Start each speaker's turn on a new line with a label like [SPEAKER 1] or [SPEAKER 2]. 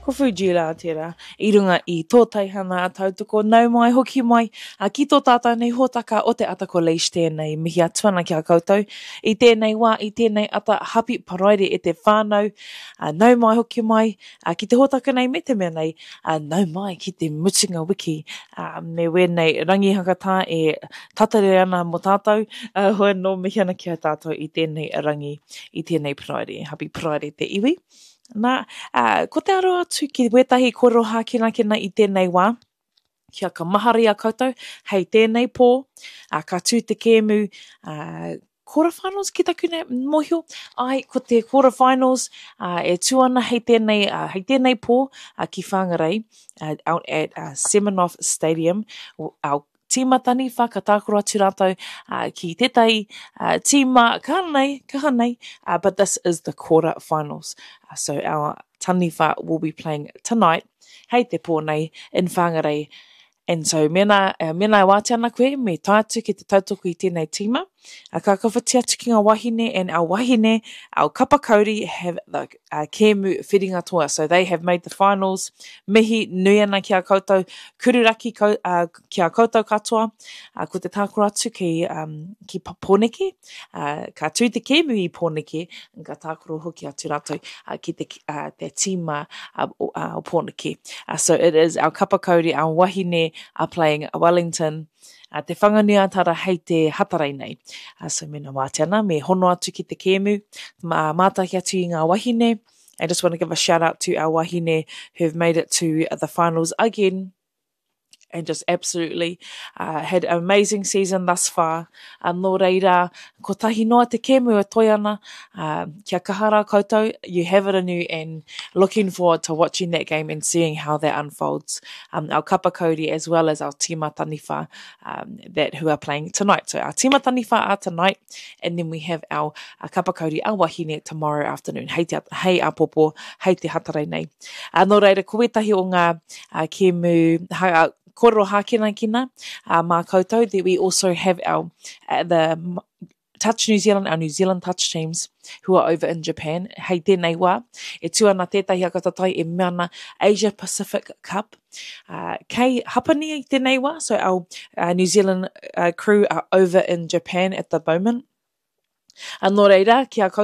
[SPEAKER 1] Ko Fuji rā tērā i runga i tō teihana a tautoko nau mai hoki mai a ki tō tātou nei hōtaka o te ata ko Leish tēnei mihi atu ana ki a koutou i tēnei wā i tēnei ata hapi paraire e te whānau a nau mai hoki mai a ki te hōtaka nei me te mea nei a nau mai ki te mutunga wiki a me wēnei rangi hakatā e tatare ana mō tātou a hoi anō mihi ana ki a tātou i tēnei rangi i tēnei paraire hapi paraire te iwi. Nā, ā, ko te aro atu ki wētahi kōrero hākinakina i tēnei wā, kia ka mahara i a koutou, hei tēnei pō, ā, ka tū te kēmu, ā, quarter finals ki taku nei mōhio, āe, ko te quarter finals, ā, e tū ana hei tēnei, ā, hei tēnei pō, ā, ki Whangarei, ā, out at, ā, Semenoff Stadium, our tīma taniwha ka tākaro atu rātou ki tētahi tīma kaha nei, kaha nei, but this is the quarter finals. So our taniwha will be playing tonight, hei te pō nei, in Whangarei. And so mēnā, mēnā e wātea ana koe, me tae atu ki te tautoko i tēnei tīma. Ka kawhiti atu ki ngā wahine and our wahine, our kapa kauri have the uh, kēmu whiringa toa. So they have made the finals. Mihi nui ana ki a koutou, kururaki kau, uh, ki a koutou katoa. Uh, ko te tākaro atu ki, um, ki Pōneke. Uh, ka tū te kēmu i Pōneke, ka tākaro hoki atu rātou uh, ki te, uh, te tīma uh, o, uh, o Pōneke. Uh, so it is our kapa kauri, our wahine are playing Wellington. Uh, te Whanganui-a-Tara hei te Hatarei nei. Uh, so mena wātea ana, me hono atu ki te kēmu, mā, mātaki atu i ngā wahine. I just want to give a shout out to our wahine who've made it to the finals again and just absolutely uh, had an amazing season thus far. Uh, nō reira, kotahi noa te kēmu e toi ana, uh, kia kaha rā koutou, you have it in you and looking forward to watching that game and seeing how that unfolds. Um, our kapa kauri as well as our tīma taniwha um, that who are playing tonight. So our tīma taniwha are tonight and then we have our, our kapa kauri, our wahine tomorrow afternoon. Hei, te, hei apopo, hei te hatarei nei. Uh, nō reira, ko wētahi o ngā uh, kēmu, ha, uh, kōrero hākinakina uh, mā koutou, that we also have our, uh, the Touch New Zealand, our New Zealand Touch teams who are over in Japan. Hei tēnei wā, e tū ana tētahi akatatai e mea ana Asia Pacific Cup. Uh, kei Hapani i tēnei wā, so our uh, New Zealand uh, crew are over in Japan at the moment. Uh, nō reira, ki a koutou.